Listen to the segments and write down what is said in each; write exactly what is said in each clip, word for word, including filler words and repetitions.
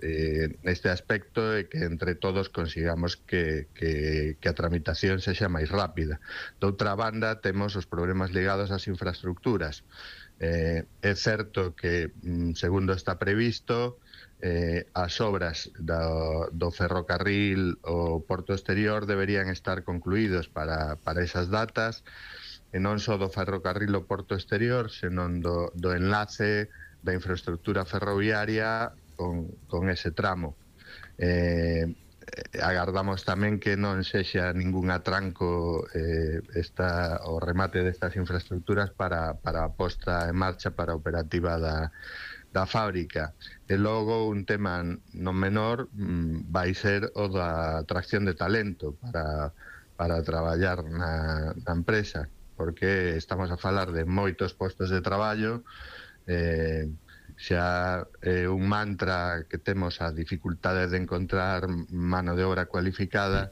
eh, neste aspecto e que entre todos consigamos que, que, que a tramitación sexa máis rápida. Doutra banda, temos os problemas ligados ás infraestructuras. Eh, é certo que, segundo está previsto, eh, as obras do, do ferrocarril o porto exterior deberían estar concluídos para, para esas datas, e non só do ferrocarril o porto exterior, senón do, do enlace da infraestructura ferroviaria con, con ese tramo. Eh, agardamos tamén que non sexa ningún atranco eh, esta, o remate destas infraestructuras para, para a posta en marcha para a operativa da, da fábrica. E logo un tema non menor mm, vai ser o da atracción de talento para, para traballar na, na empresa, porque estamos a falar de moitos postos de traballo. eh, xa é un mantra que temos a dificultade de encontrar mano de obra cualificada.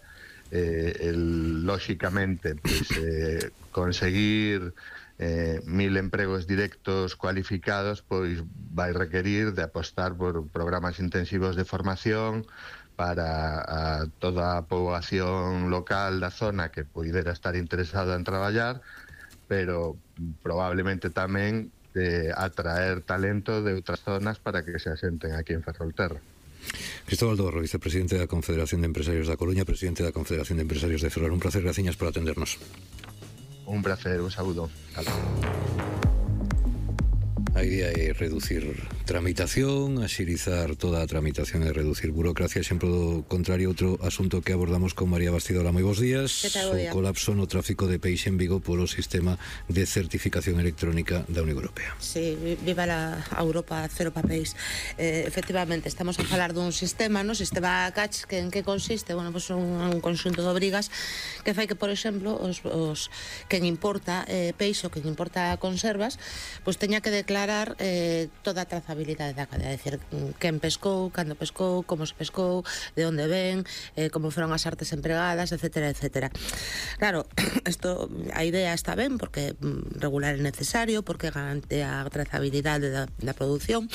eh, el, lóxicamente pues, eh, conseguir eh, mil empregos directos cualificados pois vai requerir de apostar por programas intensivos de formación para a toda a poboación local da zona que poidera estar interesada en traballar, pero probablemente tamén de atraer talento de outras zonas para que se asenten aquí en Ferrolterra. Cristóbal Dorro, vicepresidente da Confederación de Empresarios da Coruña, presidente da Confederación de Empresarios de Ferrol. Un placer, graciñas por atendernos. Un placer, un saúdo. Hasta. A idea é reducir tramitación, axilizar toda a tramitación e reducir burocracia. Exemplo do contrario, outro asunto que abordamos con María Bastidola. Moi bons días. O colapso no tráfico de peixe en Vigo polo sistema de certificación electrónica da Unión Europea. Sí, viva la Europa cero papéis. Eh, efectivamente, estamos a falar dun sistema, no sistema CACH, que en que consiste? Bueno, pues un, un conxunto de obrigas que fai que, por exemplo, os, os quen importa eh, peixe ou quen importa conservas, pues teña que declarar Eh, toda a trazabilidade da cadea, é dicir, quen pescou, cando pescou, como se pescou, de onde ven, eh, como foron as artes empregadas, etcétera, etcétera. Claro, esto, a idea está ben porque regular é necesario, porque garante a trazabilidade da, da produción,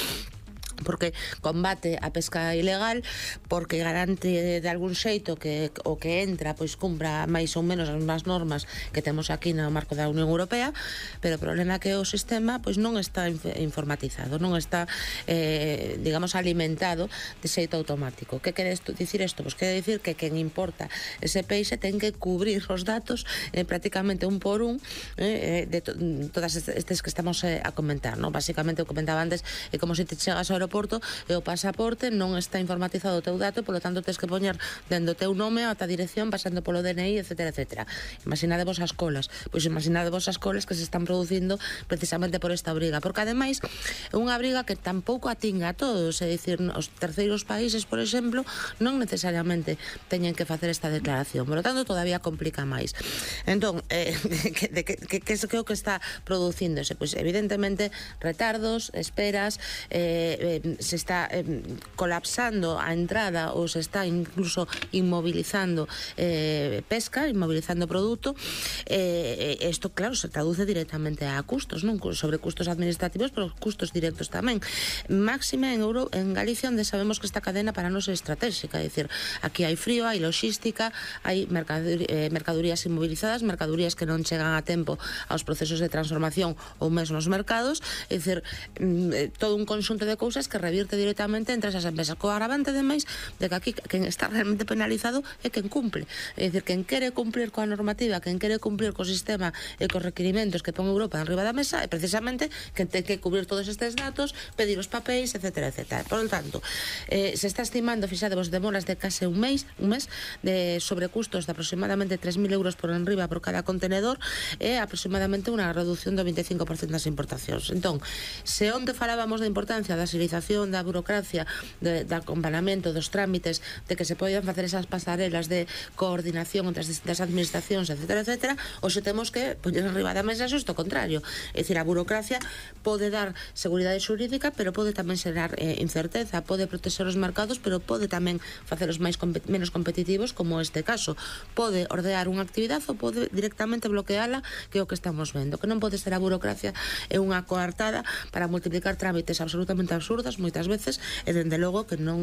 porque combate a pesca ilegal, porque garante de algún xeito que o que entra pois cumpra máis ou menos as mesmas normas que temos aquí no marco da Unión Europea, pero o problema é que o sistema pois non está informatizado, non está eh, digamos alimentado de xeito automático. Que quere dicir isto? Pois quere dicir que quen importa ese peixe ten que cubrir os datos eh, prácticamente un por un eh, de to todas estes que estamos eh, a comentar, non? Basicamente, o comentaba antes, é como se te chegas ao aeroporto e o pasaporte non está informatizado o teu dato, polo tanto tens que poñer dentro o teu nome a ta dirección, pasando polo D N I, etcétera, etcétera. Imaginadevos as colas, pois imaginadevos as colas que se están producindo precisamente por esta obriga, porque ademais é unha obriga que tampouco atinga a todos, é dicir, os terceiros países, por exemplo, non necesariamente teñen que facer esta declaración, por lo tanto todavía complica máis. Entón, eh, que, de, que, que, que é o que está producíndose? Pois evidentemente retardos, esperas, eh, se está eh, colapsando a entrada ou se está incluso inmovilizando eh, pesca, inmovilizando produto. Eh, isto, claro, se traduce directamente a custos, non sobre custos administrativos, pero custos directos tamén. Máxime en, Euro, en Galicia, onde sabemos que esta cadena para nós é estratégica, é dicir, aquí hai frío, hai logística, hai mercadur, eh, mercadurías inmovilizadas, mercadurías que non chegan a tempo aos procesos de transformación ou mesmo aos mercados, é dicir, eh, todo un conxunto de cousas que revirte directamente entre esas empresas, co agravante demais de que aquí quen está realmente penalizado é quen cumple, é dicir, quen quere cumplir coa normativa, quen quere cumplir co sistema e cos requirimentos que pon Europa enriba da mesa é precisamente quen ten que cubrir todos estes datos, pedir os papéis, etcétera, etcétera. Por lo tanto, eh, se está estimando, fixadevos, demoras de case un mes, un mes de sobrecustos de aproximadamente tres mil euros por enriba por cada contenedor e aproximadamente unha reducción do veinticinco por cento das importacións. Entón, se onde falábamos da importancia da agilización, da burocracia, de, de acompañamento dos trámites, de que se poden facer esas pasarelas de coordinación entre as distintas administracións, etcétera, etcétera, hoxe temos que poñer arriba da mesa isto contrario. É dicir, a burocracia pode dar seguridade xurídica, pero pode tamén xerar eh, incerteza, pode protexer os mercados, pero pode tamén facelos máis compet menos competitivos, como este caso. Pode ordear unha actividade ou pode directamente bloqueala, que é o que estamos vendo. Que non pode ser a burocracia é unha coartada para multiplicar trámites absolutamente absurdas, moitas veces, e dende logo que non